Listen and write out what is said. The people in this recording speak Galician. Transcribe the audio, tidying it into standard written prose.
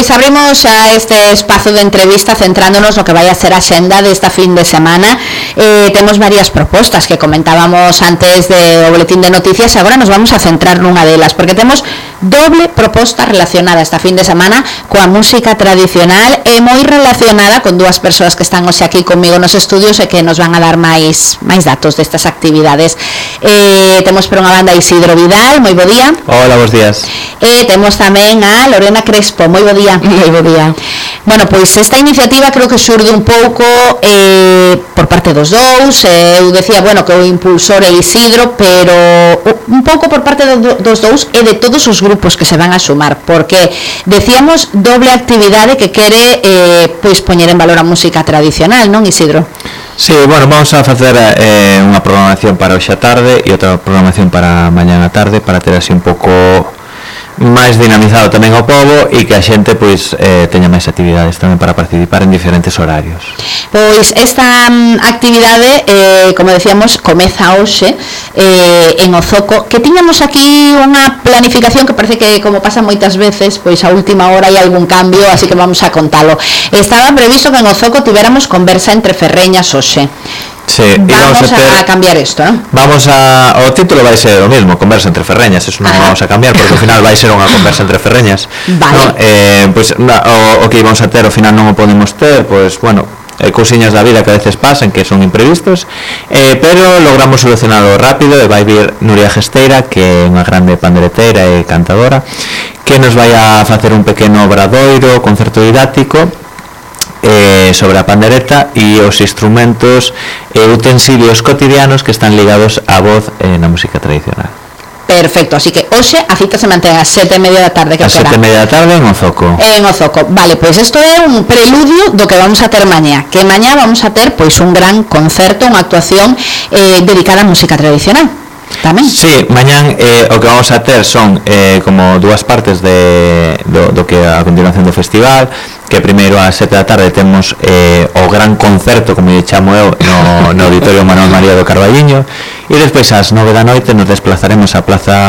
Pois abrimos xa este espazo de entrevista centrándonos no que vai a ser a xenda desta fin de semana. Temos varias propostas que comentábamos antes do boletín de noticias, agora nos vamos a centrar nunha delas, porque temos doble proposta relacionada esta fin de semana coa música tradicional e moi relacionada con dúas persoas que están hoxe aquí comigo nos estudios e que nos van a dar máis datos destas actividades. Temos por unha banda Isidro Vidal, moi bo día. Hola, bons días. E temos tamén a Lorena Crespo, moi bo día. Moi bo día. Bueno, pois esta iniciativa creo que xurde un pouco por parte dos dous. Eu decía, bueno, que o impulsor é Isidro, pero un pouco por parte dos dous e de todos os grupos que se van a sumar, porque decíamos doble actividade que quere pois poñer en valor a música tradicional, non, Isidro? Sí, bueno, vamos a facer unha programación para hoxe a tarde e outra programación para mañá a tarde, para ter así un pouco máis dinamizado tamén o pobo e que a xente pois teña máis actividades tamén para participar en diferentes horarios. Pois esta actividade, como decíamos, comeza hoxe en Ozoco, que tiñamos aquí unha planificación que parece que, como pasa moitas veces, pois a última hora hai algún cambio, así que vamos a contalo. Estaba previsto que en Ozoco tivéramos conversa entre ferreñas hoxe. Sí, vamos a cambiar isto, ¿no? O título vai ser o mismo, conversa entre ferreñas, eso non vamos a cambiar porque ao final vai ser unha conversa entre ferreñas. Vale. ¿No? Pois o que íbamos a ter ao final non o podemos ter, pois bueno, cousiñas da vida que a veces pasan que son imprevistos, pero logramos solucionarlo rápido e vai vir Nuria Gesteira, que é unha grande pandereteira e cantadora, que nos vai a facer un pequeno obradoiro, concerto didáctico sobre a pandereta e os instrumentos e utensilios cotidianos que están ligados á voz na música tradicional. Perfecto, así que hoxe a cita se mantén ás 7:30 da tarde, que a 7:30 da tarde en Ozoco. En Ozoco. Vale, pois isto é un preludio do que vamos a ter mañá, que mañá vamos a ter pois un gran concerto, unha actuación dedicada á música tradicional. Tamén. Sí, mañán o que vamos a ter son como dúas partes do que a continuación do festival, que primeiro ás 7 da tarde temos o gran concerto, como lle chamo eu, no Auditorio Manuel María do Carballiño, e despois ás 9 da noite nos desplazaremos á Plaza